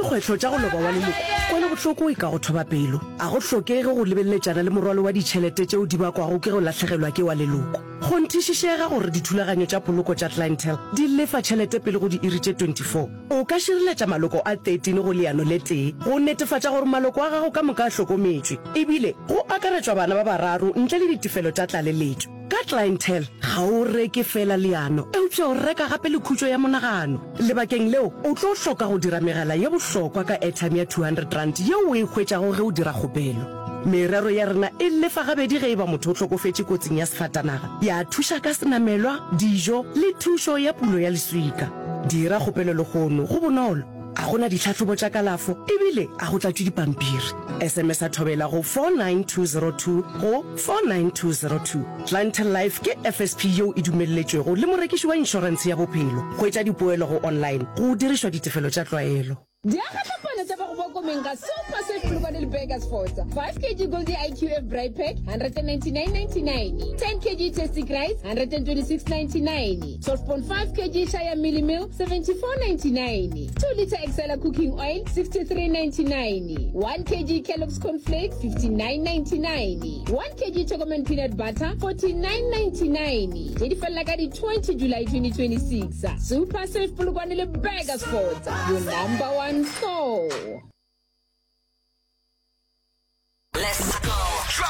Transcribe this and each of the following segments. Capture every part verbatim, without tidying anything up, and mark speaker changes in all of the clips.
Speaker 1: dikgwetlho tša go loba wa leloko, kwelobohloko e ka go thoba pelo. A go hlokege go lebeleletšana le morwalo wa ditšhelete tšeo di bakwago ke go lahlegelwa ke wa leloko. Kgonthišišega gore dithulaganyo tša poloko tša Clientele di lefa tšhelete pele go diiri tše twenty four. O ka šireletša maloko a thirteen go leano le tee go netefatša gore maloko a gago ka moka a hlokometšwe, ebile go akaretšwa bana ba bararo ntle le ditefelo tša tlaleletšo. Ka Clientele, ga o reke feela leano, eupša o reka gape le khutšo ya monagano. Lebakeng leo, o tlo hloka go dira megala ye bohlokwa ka airtime ya two hundred rand yeo o e hwetšago ge o dira kgopelo. Merero ya rena e lefa gabedi ge e ba motho o hlokofetše kotsing ya sefatanaga, ya thuša ka senamelwa, dijo le thušo ya pulo ya leswika. Dira kgopelo lehono, go bonolo, a go na ditlhahlobo tša kalafo ebile a go tlatšwe dipampiri. S M S a Thobela go four nine two zero two go four nine two zero two. Clientele Life ke F S P yeo e dumelletšwego le morekiši wa inšorentshe ya bophelo. Hwetša dipoelo go online go dirišwa ditefelo tša tlwaelo.
Speaker 2: Diagatlapana tša ba go ba komeng ga Super Save Polokwane le Burgersfort. five kilograms Goldie I Q F Braai Pack one ninety-nine ninety-nine, ten kilograms Tastic Rice one twenty-six ninety-nine, twelve point five kilograms Shaya Mielie Meal seventy-four ninety-nine, two liter Excella cooking oil sixty-three ninety-nine, one kilogram Kellogg's cornflakes fifty-nine ninety-nine, one kilogram Chocoman peanut butter forty-nine ninety-nine. Tše di felela ka di twenty July twenty twenty-six. Super Save Polokwane le Burgersfort, your number one store.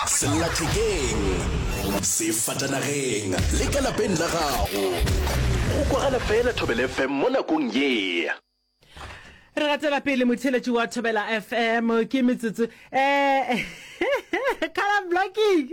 Speaker 3: Sellathekeng, sefatanageng le ka lapeng la gago, go kwagala fela Thobela F M mo nakong ye.
Speaker 4: Re gatela pele, motheletši wa Thobela F M. Ke metsotso um color blocking.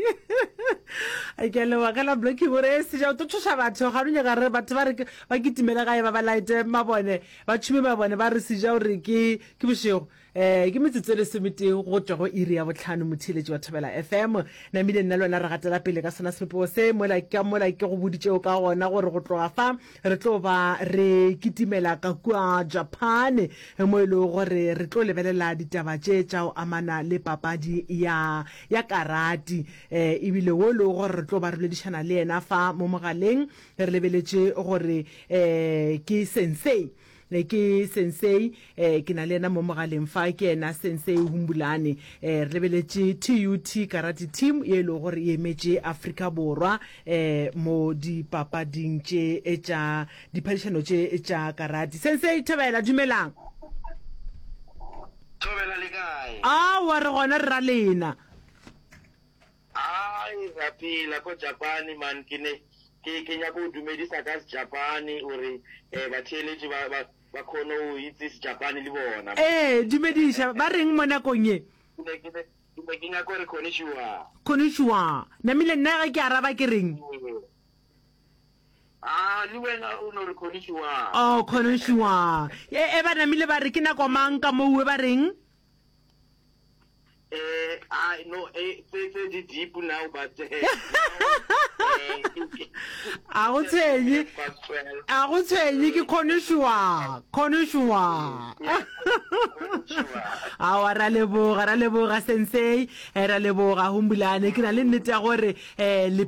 Speaker 4: Ke a leboga, color blocking gore e seja o tlo tšhoša batho ga nyaka re batho ba re ba kitimele gae, ba ba laete mabone, ba tšhume mabone, ba re seja gore ke ke bošego. um ke metsotso e lesometee go tšwa go iri ya botlhano, motheletši wa Thobela F M. Namile nna le wena re gatela pele ka sona sebopego se mola ka mola ke go boditšeo ka gona gore go tloga fa re tlo ba re kitimela ka kua Japan, mo e lego gore re tlo lebelela ditaba tše tša go amana le papadi ya ya karati, um ebile wo e lego gore re tlo ba re boledišana le yena fa mo mogaleng, re lebeletše gore um ke sensei ke sensei um ke na le yena mo mogaleng fa, ke yena Sensei Humbulane. um re lebeletše T U T karate team ye e lego gore e emetše Afrika Borwa um mo dipapading tše tša diphadišano tše tša karate. Sensei, thobela, dumelang.
Speaker 5: Thobela, le kae?
Speaker 4: Aowa, re gona, re ra lena.
Speaker 5: Ai, ra phela ko Japane man. Ke ne ke ke nyaka go dumedisa ka Sejapane gore eh batheeletši ba ba ba kgone go itse Sejapane le bona.
Speaker 4: Ee, dumediša ba reng mo nakong ye?
Speaker 5: Ke ne ke ne ke ne ke nyaka gore konnichiwa.
Speaker 4: Konnichiwa. Namile nna ge ke araba ke reng?
Speaker 5: Ah, le wena o no re konnichiwa.
Speaker 4: Oh, konnichiwa. E, e ba namile ba re ke nako mang ka moue, ba reng?
Speaker 5: Eh, I no eh tse tse di deep now, but eh, now, eh,
Speaker 4: A go tshwenye.
Speaker 5: Past twelve.
Speaker 4: A go tshwenye, ke konnichiwa, konnichiwa.
Speaker 5: Konnichiwa.
Speaker 4: Aowa, ra leboga, ra leboga sensei, eh, ra leboga Humbulane. Ke na le nnete ya gore um le